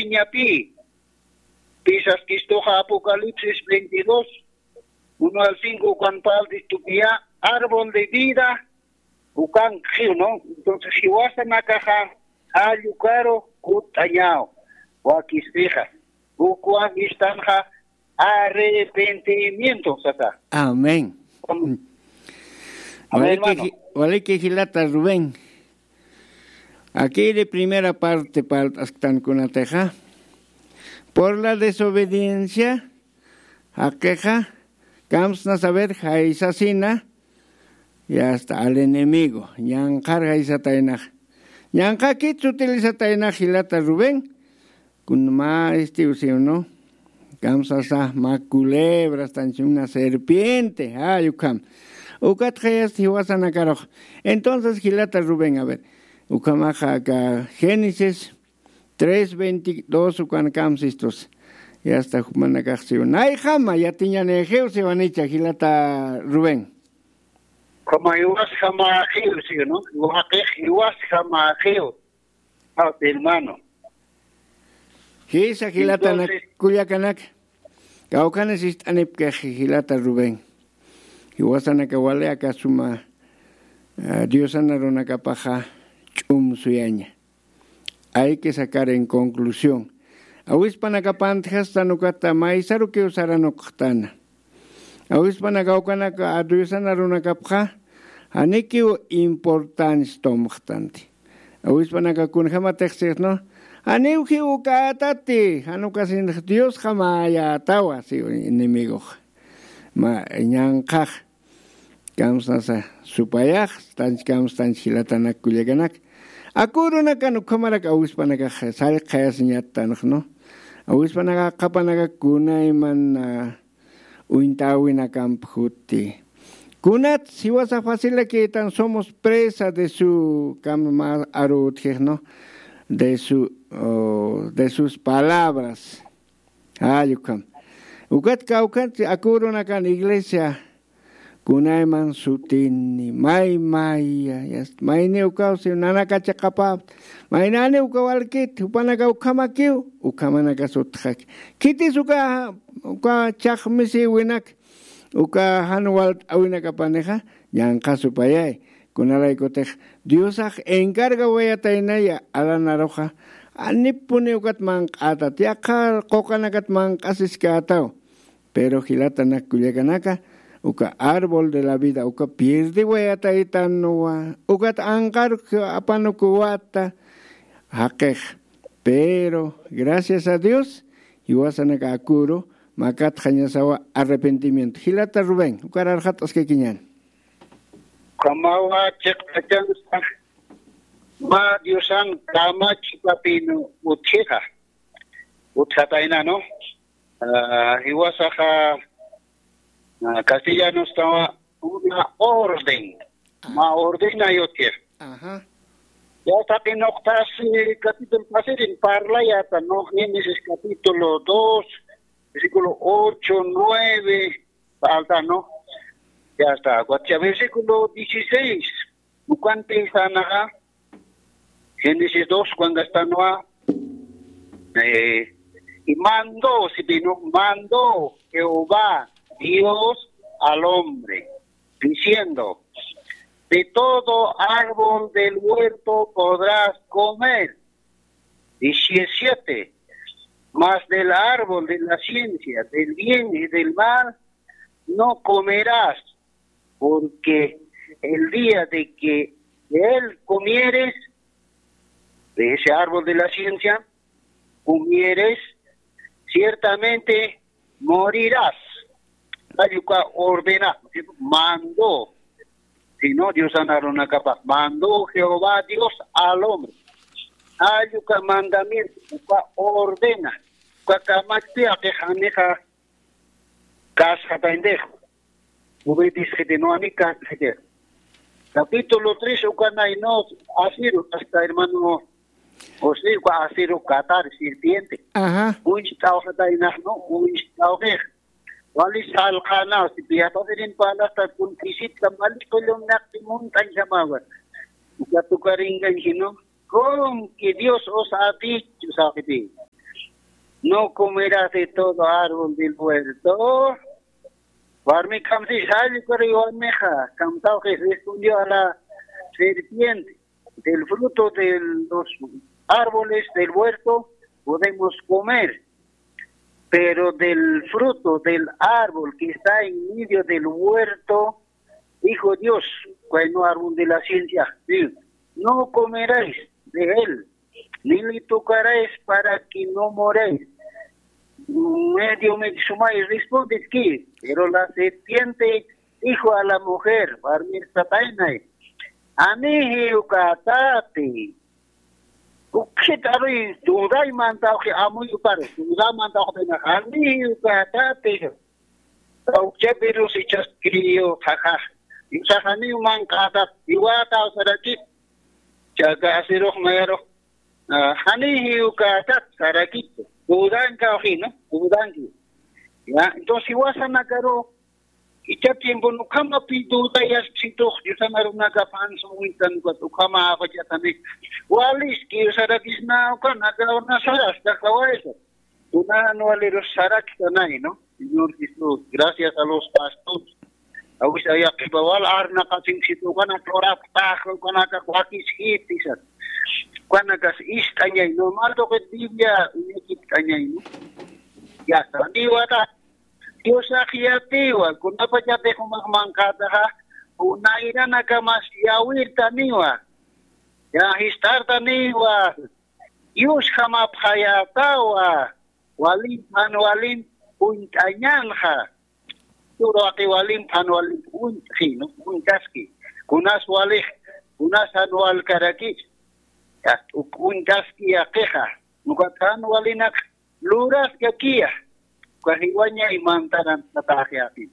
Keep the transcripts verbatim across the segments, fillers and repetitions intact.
Ñapi, pisaskistuxa Apocalipsis veintidós, uno al cinco, ukan parltistukiya, árbol de vida, ukan xiw, ¿no? Entonces, jiwasanakaxa, jallukaru, kut'añaw, wakispixa, ukwan istanxa, arrepentimiento, sasa. Amén. Amén, hermano. Waliki, ji- waliki jilata Rubén. Aquí de primera parte parlt'asktan kunatixa. Por la desobediencia, jaqixa, kamsna saber, jaysasina, y hasta al enemigo, ñanqhar jaysataynax. Ñanqhakit sutilizataynax jilata Rubén, kun mä este, o sea, ¿no? Kamsasa, mä culebra, tanchuna serpiente, ay, ukham. Ukat jayas jiwasanakarux. Entonces, jilata Rubén, a ver, ukhamaxa aka Génesis tres veintidós ukan kamsistus. Y hasta jumanakax siw. Nayjama, yatiñanixiw siwanicha, jilata Rubén. Como jiwasjamaxiw, siw, ¿no? Waqix jiwasjamaxiw. Ah, hermano. Jisa jilatanak, entonces, kullakanak. Kawkhanis ist'anipkix jilata Rubén. Jiwasanaka wali aka suma, ah, Diosan arunakapaxa ch'um suyaña. Hay que sacar en conclusión. Awispanakapantjastan ukata maysarukiw saranuqtana. Awispanaka ukanaka Diosan arunakapxa, janikiw importancia tomxtanti. Awispanaka kunjamatix sixnu, janiw jiw ukätati, jan ukasinx Diosjamäyätawa, si enemigox. Ma, ñanqhax, kamsnasa supayax, tanch kamstanch jilatanak kullakanak. Aku urunakan ukhamarak awispanakax sallqayasiñattanx, ¿no? Awispanaka qhapanaka kunayman, ah, uñtawinakamp juti. Kunat jiwasa facilakïtan, somos presa de su, kam mä aru utjix, ¿no? De su, oh, de sus palabras. Ay, ukham. Ukat kawkhanti aku urunakan iglesia, kunayman sutini, may, may, ya, ya, mayni ukaw si nanaka chiqapäpt, maynani uka walkit, jupanaka ukhamakiw, ukhamanaka sutxaki. Khitis uka, uka chhaqmisiwinak, uka jan walt'awinakapanixa, ñanqha supayay. Kunalaykutix Diosax encargawayataynaya alanaruxa, janipuni ukat manq'ätat, yaqha quqanakat manq'asiskätaw. Pero jilatanak kullakanaka, uka árbol de la vida, uka pierdiwayataytanwa, ukat anqaruk apanukuwata, jaqix. Pero, gracias a Dios, jiwasanaka aküru, makatxañasawa arrepentimiento. Jilata Rubén, ukar arxat'askakiñäni. Ukhamawa chiqpachansa, mä Diosan kamachipapin utjixa. Utjatayna, ¿no? Ah, jiwasaxa, ah, castellanostawa una orden. Ah. Mä ordenay utjix. Ajá. Ya taqi nuqt'as, eh, capítulo pasirin parlayäta, ¿no? Génesis capítulo dos, versículo ocho, nueve, falta, ¿no? Ya está. Cuatro, versículo dieciséis. Ukan piensanaxa, Génesis dos, cuando está Noah, eh, y mandó, si vino, mandó Jehová Dios al hombre, diciendo: "De todo árbol del huerto podrás comer". Diecisiete. "Mas del árbol de la ciencia del bien y del mal no comerás, porque el día de que de él comieres, de ese árbol de la ciencia, comieres, ciertamente morirás". Jall uka ordena, mandó, sino Diosan arunakapax, mandó Jehová Dios al hombre. Jall uka mandamiento, uka ordena, uka kamachpi aqixanixa kasxataynix. Obedesxiti, no, ani kasxiti. Capítulo tres, ukanay, no, asiru, hasta hermano José, uka asiru katar, serpiente. Ajá. Uñst'awxataynax, no, uñst'awxix. Wali salqäna, si piyatasirin parlasta, kun kisitka mali qullum naqti munt'añjamawa. Uka tukaringañ, sino, con que Dios os ha dicho, sabe. No comerás de todo árbol del huerto. Warmi kamsi sali kuri warmixa, kamtawqi respondió a la serpiente: del fruto de los árboles del huerto podemos comer, pero del fruto del árbol que está en medio del huerto, dijo Dios, bueno, árbol de la ciencia, sí, no comeréis de él, ni le tocaréis para que no moréis. Medio me sumay responde que, pero la serpiente dijo a la mujer, warmir tataynay, anihi ukatati. Ukxit aruy dudaymantawqi amuy ukar, dudamantawqi anihi ukatati. Ukchapirus ichas criyo qhaqax, ichaxaniw manq'atat iwataw sarakit. Chaka asirux mayarux, ah, janihi ukatati sarakit. Dudankawqi, ¿no? Dudanki. Ya, entonces iwasanakaru icha tiempo ukhamapi dudayasksitux, Diosan arunaka pansa witan ukat ukhama apachatani. Waliski sarakisna ukanaka, una sarasta kawaysa. Kunan walirus saraktanay, ¿no? Señor Jesús, gracias a los pastores. Awis ayaqipa wal arnaqasinksitu ukanaka uraptax, ukanaka wakiskiti sat. Ukanakas ist'añay, normal tuqit Biblia uñakipt'añay, ¿no? Ya está, niwata. Diosax yatiwa, kunapachatix umax manqataxa, kunayranakamas yawirtaniwa. Ya, jistartaniwa. Dios jamapxayätawa, walimp jan walimp uñt'añänxa. Turu waqi walimp jan walimp uñt'xi, ¿no? Uñt'aski. Kunas walix, kunas jan walkarakis. Uñt'aski yaqixa. Ukat jan walinak luraskakiya. Uka jiwañay mantaran tataxi aqi.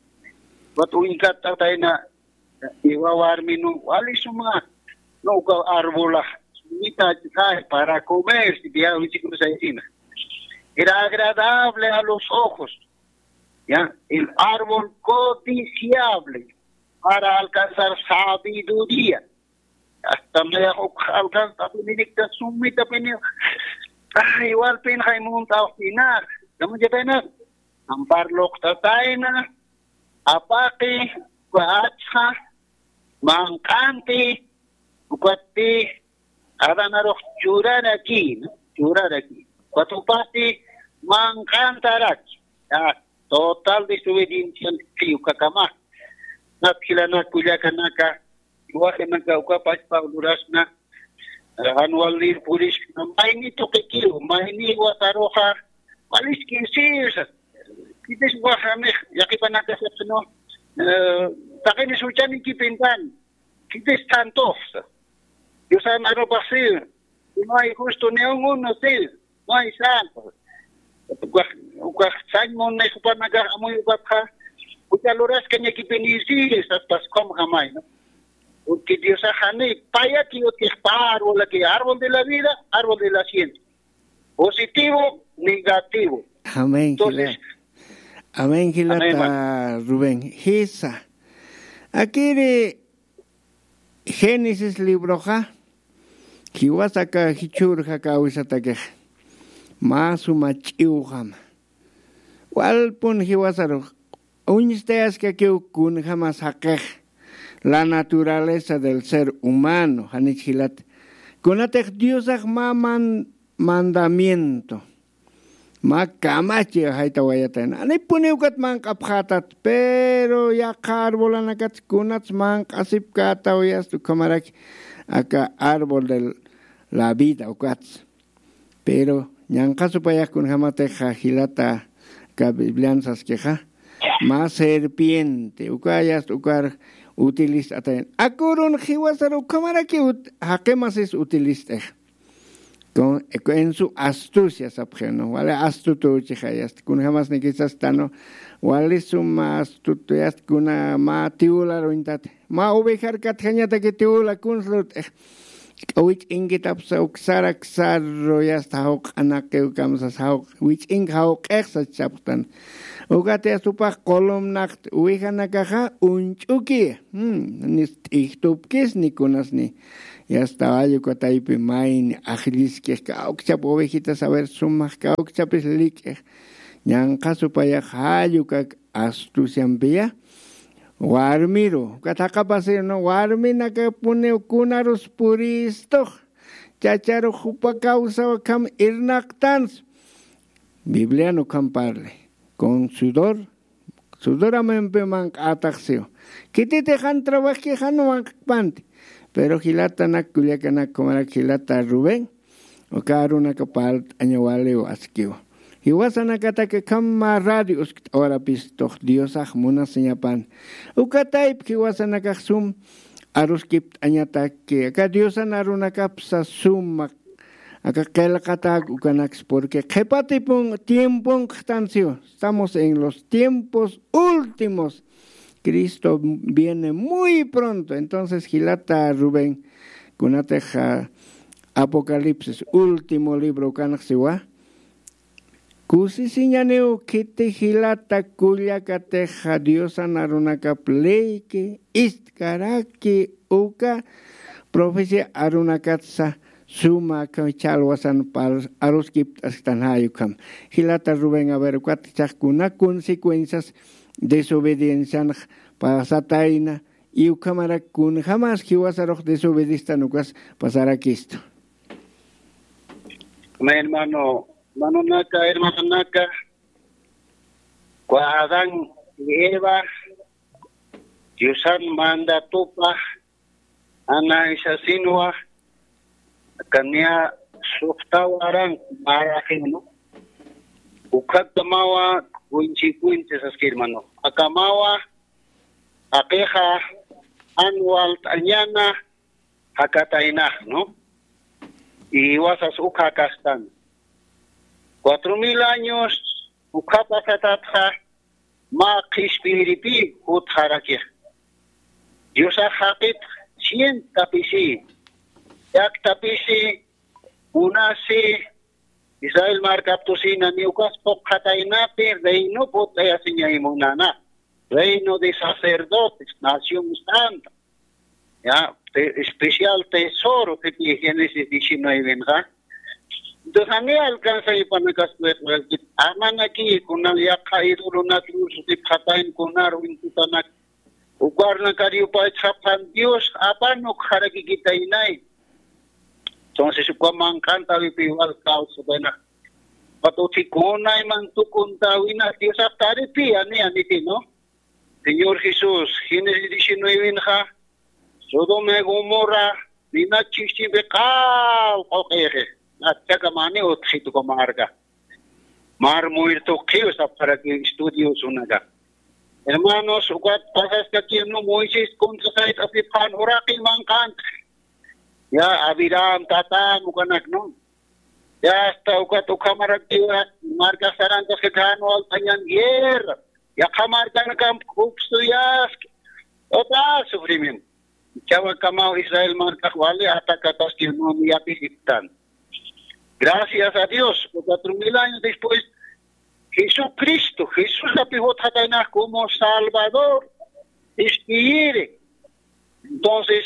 Ukat uñkat tatayna, iwa warmi, no, wali suma, no, uka arbolax, sumita, ay, para comer, si ya, wichikusa, ina. Era agradable a los ojos, ya, el árbol codiciable para alcanzar sabiduría. Hasta mayax uk alcanzapininikta sumitapini, ay, walpin jaymuntawqina, kamachapayna, ampar luqtatayna, apaqi, uka achxa, manq'anti, ukatpi, adanarux churaraki, ¿no? Churaraki. Ukatupasti manq'antaraki. Ya, total desobediencia, ukakama. Napjilanak, kullakanaka, iwasanaka, uka pachpa lurasna, jan walir puriskna, mayni tuqikiw, mayni wataruxa, waliski, sí, o sea, kitis waxamix, yaqipanakasapsno, eh, taqini suchanikipintan, kitis tantoxsa. Diosan arupax sí, no hay justo ni un uno, sí, no hay santo. Ukax, ukax sañ munix jupanakax amuy ukatxa, uka luraskañakipini, sí, saspas, ¿cómo jamay, no? Porque Diosax jani, payaki utjix pa árbol, aquí, árbol de la vida, árbol de la ciencia. Positivo, negativo. Amén, entonces, jila. Amén, jilata, amén, hermano. Rubén. Jisa. Akiri Génesis libroxa, jiwasaka jichhürjaka awisatakix. Mä suma ch'iwjama. Walpun jiwasarux uñstayaskakiw kunjamas jaqix, la naturaleza del ser humano, janich jilat. Kunatix Diosax mä man-, mandamiento, mä kamachi jaytawayatayna. Anipuniw ukat manq'apxätat, pero yaqha arbolanakat kunats manq'asipkätaw, yast ukhamaraki aka árbol de la vida ukats. Pero ñanqha supayax kunjamatixa jilata, aka Biblian saskixa, mä serpiente, uka yast ukar utilist'atayan. Akurun jiwasar ukhamaraki ut-, jaqimasis utilist'ix. Con, en su astucia sapxi, ¿no? Wali astuto uchixa yast. Kunjamasnikisasta, ¿no? Wali suma astuto yast, kuna mä tiwular uñtat. Mä ovejar katjañataki tiwula kuns lurt'ix. K'awich'inkitapsa uksara ksaru yasta jawq'anaqiw kamsas jawq wich'ink jawq'ixsa chapxtan. Ukatiyas upax qulumnaqt uwijanakaxa uñch'uki. Nis t'ijtupkis ni kunasni. Yasta wallukataypi mayni ajlliskix kawkchap ovejitas a ver sumax kawkchapis lik'ix. Ñanqha supayax jallukak astuciampiya. Warmiru ukat jaqapasir no warminakapuniw kunarus puristux. Chacharux jupa kawsaw akham irnaqtans. Biblian ukham parli con sudor. Sudoramimpi manq'ataxsiw. Khititix jan trabajki jan manq'panti. Pero jilatanak kullakanak kumarak jilata rubén uka arunaka parlt'añawaliw askiw. Jiwasanakataki khama radio uskt'awarapistux diosax munasiñapan. Ukatayp jiwasanakax sum aruskipt'añataki aka diosan arunakapsa suma aka qillqatak ukanaks porque qhipatipun tiemponqtansiw. Estamos en los tiempos últimos. Cristo viene muy pronto. Entonces jilata rubén kunatix apocalipsis último libro ukanxsiwa. Kusisiñaniw khiti jilata kullakatixa diosan arunakap leyki istkaraki uka profecía arunakatsa suma ch'alwasan aruskipt'asktan jay ukham. Jilata rubén aver ukat chaxkuna consecuencias desobediencianx pasatayna. Y ukhamarak kunjamas jiwasarux desobedistan ukas pasarakistu. Amén hermano. Hermanonaka hermanonaka, kua adán y eva diosan mandatupa anaysasinwa kania suxtawaran marajinu. Ukhatamawa kuinchi kuinchi saski hermano akamawa aqixa anwalt'añana jakataynax no. Y wasas ukha kastan cuatro mil años ukha pasatatxa mä qhispiyiripi jutxarakix. Diosax jaqit cien tapisi yak tapisi munasi israel markaptusina ni ukas puqxataynapi reino put'ayasiñay munana reino de sacerdotes nación santa. Ya, especial tesoro tipi génesis diecinuevenxa. Entonces ani alcanza ipanakaspueqrakit amanaki kunal yaqha idolonakrusu tipxatayn kunar wintutanak ukarnakar yupaytxapxan dios apanuk jarakikitaynay. Entonces uka manq'antawipi igual causa buena patuthi kunayman tukuntawina diosap taripi ani anitino. Señor jesús génesis diecinuevenxa sodoma y gomorra nina chischimpi q'al qoq'ixi. Achchakamani utxitukamarka mar muerto qhiw sapxaraki estudiosunaka. Hermanos ukat pasaskakinu moisés kuntasayt'asipxan uraqi manq'antxi. Ya abiram tatam ukanaknu. Ya asta ukat ukhamarakiwa markasarantaskakanu altañan guerra yaqha markanakamp upsuyaski. Total sufrimiento. Chawakamaw israel markax wali atakataskirnumi yapisiptan. Gracias a dios cuatro mil años después jesucristo jesusapi jutxataynax como salvador. Ispiyiri. Entonces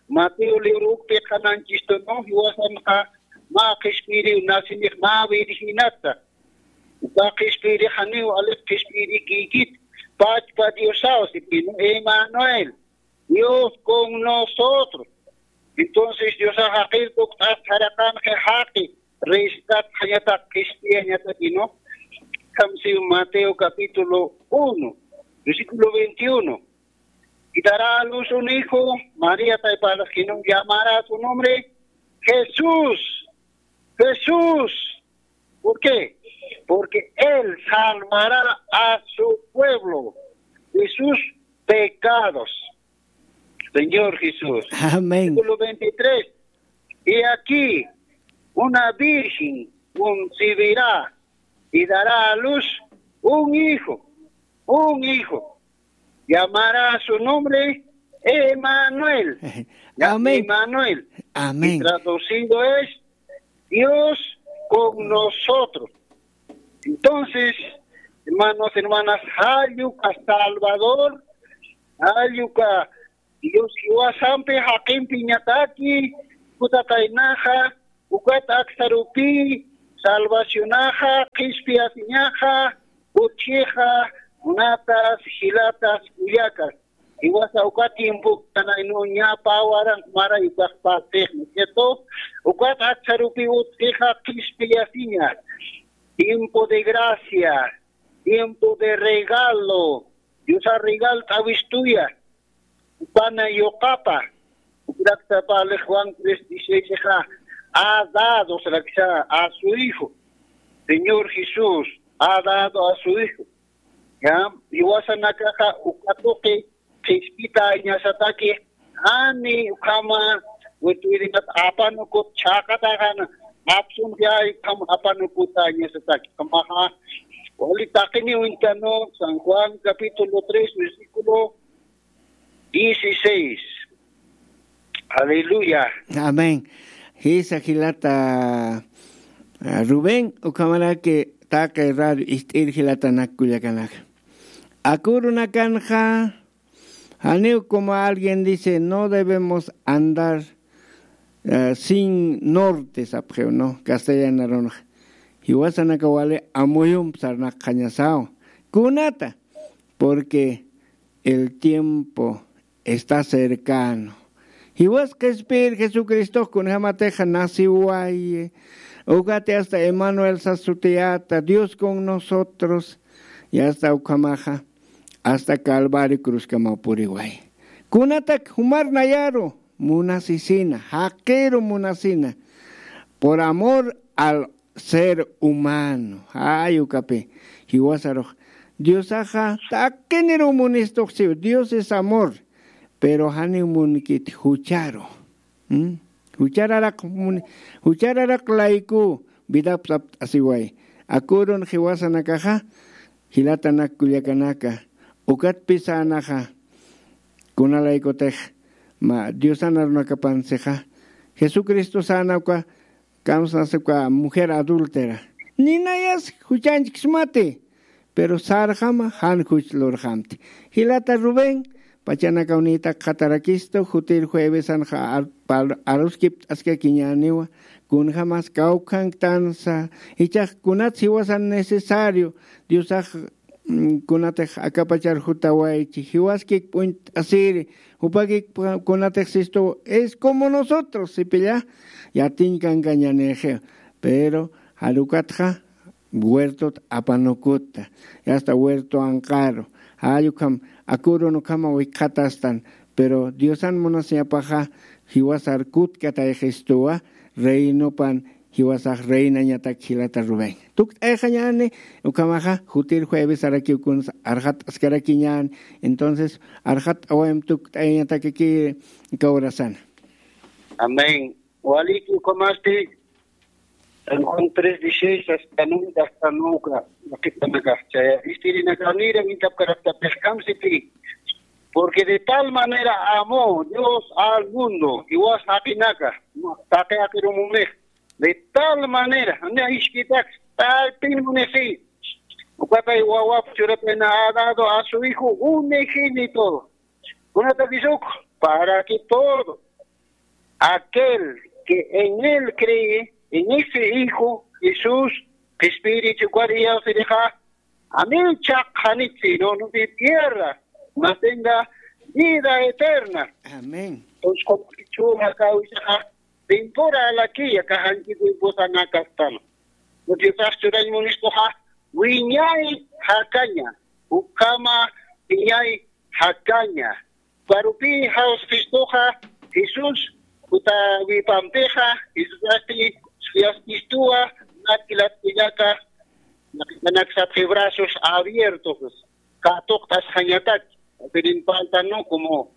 mateo libro ukpi qhananchistu no jiwasanxa mä qhispiyiriw nasinix mä virginata. Uka qhispiyirixaniw alix qhispiyirikikit pachpa diosaw sipinu emanuel. Dios con nosotros. Entonces diosax jaqir tukt'at jaraqanxi jaqi rescatatxañataq qhispiyañatakinu. Kamsiw mateo capítulo uno versículo veintiuno. Y dará a luz un hijo. María taypalaxkinu llamará su nombre jesús. Jesús. ¿Por qué? Porque él salvará a su pueblo de sus pecados. Señor jesús. Amén. Versículo veintitrés. Y aquí una virgen concebirá y dará a luz un hijo. Un hijo. Llamará su nombre Emanuel. Ya, amén. Emanuel. Amén. Y traducido es Dios con nosotros. Entonces, hermanos, hermanas, jall uka Salvador, jall uka Dios jiwasampi jaqimpiñataki, kutaqaynaxa, ukat aksarupi, salvacionaxa, qhispiyasiñaxa, utjixa, munatas, jilatas, kullakas. Jiwasa uka tiempo kanaynu ñapa waran maray ukax partix, ¿no es cierto? Ukat aksarupi utjixa qhispiyasiña. Tiempo de gracia, tiempo de regalo. Diosa regal t'awistuya. Pana yuqapa. Ukrakta pali Juan tres dieciséis, ha dado, se la que sea, a su hijo. Señor Jesús ha dado a su hijo. Ya, jiwasanakaxa uka tuqi qhispitañasataki, jani ukhama witwirikat apanukut chhaqataxan apsunxay ukham apanukutañasataki. Ukhamaxa wali taqiniw uñtanu, San Juan capítulo tres, versículo dieciséis. Aleluya. Amén. Jisa jilata, ah, Rubén, ukhamaraki taqi radio ist'ir jilatanak kullakanaka. Akürunakanxa, janiw como alguien dice, no debemos andar, eh, sin norte, sapxiw, ¿no? Castellano arunxa. Jiwasanaka wali amuyump sarnaqxañasaw. Kunata, porque el tiempo está cercano. Jiwas qhispir Jesucristox kunjamatixa naciwayi, ukati hasta Emanuel sas sutiyata, Dios con nosotros, y hasta ukhamaxa, hasta Calvario cruzkamaw puriwayi. Kunatak jumar nayaru munasisina, jaqiru munasina, por amor al ser humano. Ay, ukapi, jiwasarux. Diosaxa taqiniru munistuxsiw. Dios es amor, pero janiw munkit jucharu. ¿Mm? Juchararaq mun-, juchararaq layku vidap sapt'asiway. Akürun jiwasanakaxa, jilatanak kullakanaka, ukatpi sänaxa, kunalaykutix, mä Diosan arunakapansixa, Jesucristo säna uka, kamsnasa uka mujer adúltera. Ninayas juchanchkismati, pero sarxama jan juch lurxamti. Jilata Rubén, pachanakaw niytak qhatarakistu, jutir juevesanxa ar-, pal-, aruskipt'askakiñäniwa, kunjamas kawkhanktansa, jichhax kunats jiwasan necesario, Diosax mm, kunatix akapachar jutawaychi, jiwaskik p'uñt'asiri, jupakik pa-, kunatix sistu, es como nosotros, sipilla, yatiñ kankañanixi, pero jar ukatxa huertot apanukuta, y hasta huerto anqaru, jall ukham, akürun ukhama wikxatastan, pero Diosan munasiñapaxa, jiwasar kutkatayxistuwa, reinopan, jiwasax reinañatak jilata Rubén. Tukt'ayxañäni, ukhamaxa, jutir juevesarakiw kuns arxat'askarakiñäni, entonces, arxat'awayam tukt'ayañatakaki kawrasana. Amén. Waliki ukhamasti, San Juan tres dieciséis, hasta nunca, hasta nunca, nakitanaka, chaya, istirinaka, nira, mintapkarakta, peskamsiti, porque de tal manera amó Dios al mundo, jiwas jaqinaka, taqi jaqirumumix, de tal manera, jani jisk'itak, tal pin munisi. Ukatay wawap churapina ha dado a su hijo unigénito. Kunatakisuk, para que todo aquel que en él cree, en ese hijo Jesús, qhispiyirichi ukar iyawsirixa, janiw chhaqxanit, sino no se pierda, mas tenga vida eterna. Amén. Entonces, como que chuma causa, tiempora la que ya cajan que tiempo sana castano. No te estás churando un esto ha, wiñay jakaña, ukama wiñay jakaña. Parupi Jesucristoxa, Jesús, kuta wipampixa, Jesusasti, Jesucristowa, nakilat kullaka, nakitanaksa brazos abiertos, katuqtasxañatak, pero en falta, ¿no? Como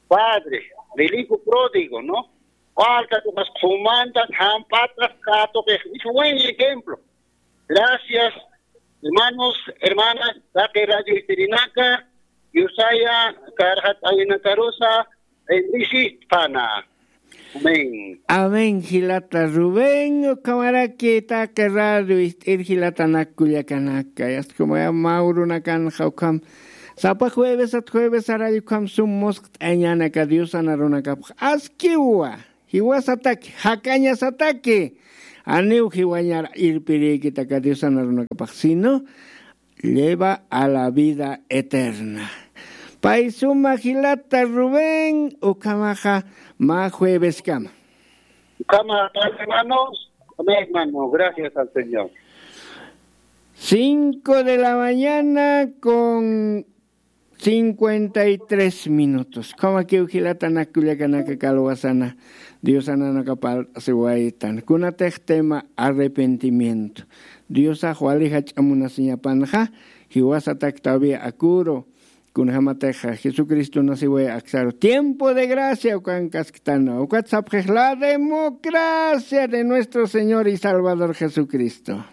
padre del hijo pródigo, ¿no? Falta, pues, qhumanta, jampata, katuqix, es buen ejemplo. Gracias, hermanos, hermanas, taqi radio istirinaka, Yusaya karxat awinakarusa bendisistpana. Amén. Amén jilata Rubén, ukhamaraki taqi radio ist'ir jilatanak kullakanaka, yaskumaya mawrunakanxa ukham sapa juevesat juevesarall ukham sum musqt'añanaka diosana runakapax askiwa. Jiwasataki jakañasataki, aniw jiwañar irpirïkitaka diosana runakapax sino lleva a la vida eterna. Pay suma jilata Rubén ukhamaxa mä jueveskama. Ukhama, hermanos. Amén, hermano, gracias al Señor. Cinco de la mañana con cincuenta y tres minutos. Ukhamakiw jilatanak kullakanaka kalwasana diosananaka parlt'asiwaytan kunatix tema arrepentimiento. Diosax wali jach'a munasiñapanxa jiwasatak todavía akuru kunjämatixa jesucristonasiway aksaru tiempo de gracia ukankasktana ukat sapxix la democracia de nuestro señor y salvador jesucristo.